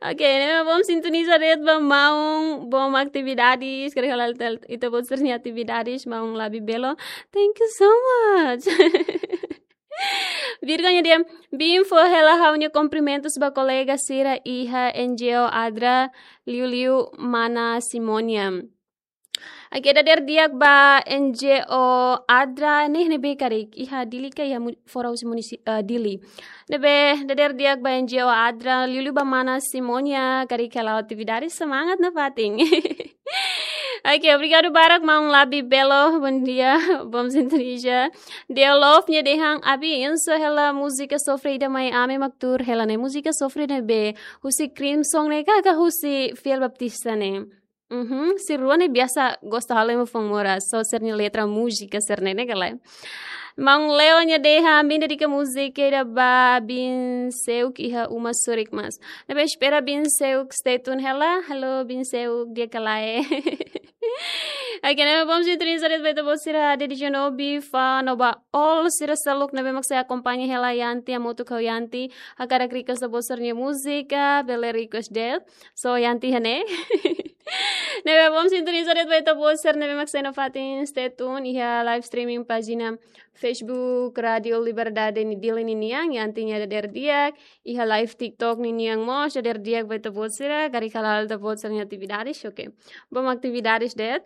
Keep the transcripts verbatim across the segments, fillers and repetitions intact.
Ok, ne'e bom sintoniza de'it ba maun, bom atividades, karik hala'o ita-boot sira-nia atividades, maun Labi Belo. Thank you so much. Virga nia dehan, biin fó hela ha'u-nia kumprimentus ba kolega sira iha N G O Adra, liuliu mana Simonia. Oke, dadeer di'ak ba N G O Adra ne'e, ne'ebé karik iha Dili ka iha mu-, fora husi munisi-, eh, Dili. Ne'ebé dadeer di'ak ba N G O Adra, liuliu ba mana Simonia, karik hala'o atividades, semangat nafatin. Oke, obrigadu barak maun Labi Belo, bom dia, bom sintonia. Deo Love nia dehan, biin fó hela múzika sofre ida mai ami mak tuur hela ne'e, múzika sofre ne'ebé, husi Crimson ne'e ka, ka husi Fiel Baptista ne'e? Mhm, sira rua ne'e biasa gosta halo ema foun moras, só sira-nia letra múzika sira-ne'e ne'e ka lae. Maun Leo nia dehan, biin dedika múzika ida ba biin Seuk iha uma Surik Mas. Ne'ebé espera biin Seuk stay tune hela. Halo biin Seuk, di'ak ka lae? Oke, ne'ebé bom sintoniza de'it ba ita-boot sira, Daddy Janobi, Fano ba all sira seluk ne'ebé mak sei akompaña hela Yanti, hamutuk ho Yanti, hakarak request ita-boot sira-nia múzika, bele request de'it. So, Yanti hanesan ne'e. Ne'ebé bom sintoniza de'it ba ita-boot sira ne'ebé mak sei nafatin stay tune iha live streaming pájina Facebook Rádio Liberdade Dili ninian, Yanti nia dadeer di'ak, iha live TikTok ninian mós dadeer di'ak ba ita-boot sira, karik hala'o ita-boot sira-nia atividades, oke. Bom atividades de'it.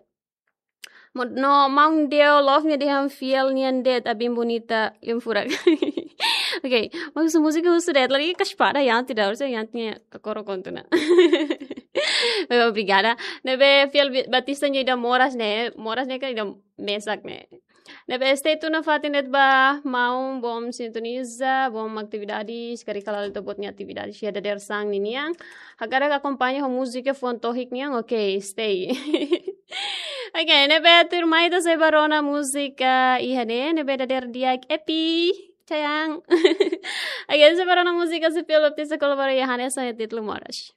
Mo-, no, maun Deo Love nia dehan fiel nian de'it, biin bonita, lian furak. Oke, maibé múzika husu de'it, lagi kaspada Yanti ida, harusnya Yanti nia kakoro kontu ona. Obrigada. Ne'ebé Fiel Bi-, Baptista nia ida moras ne'e, moras ne'e ka ida mesak ne'e. Ne'ebé stay tune nafatin de'it ba maun, bom sintoniza, bom atividades, karik hala'o ita-boot nia atividades iha dadeer-saan ninian. Hakarak akompaña ho múzika fuan tohik nian, oke, stay. Oke, ne'ebé tuirmai ita sei bá rona múzika iha ne'e, ne'ebé dadeer di'ak, Epi, sayang. Oke, sei bá rona múzika husi Fiel Baptista kolabora iha hanesan títulu moras.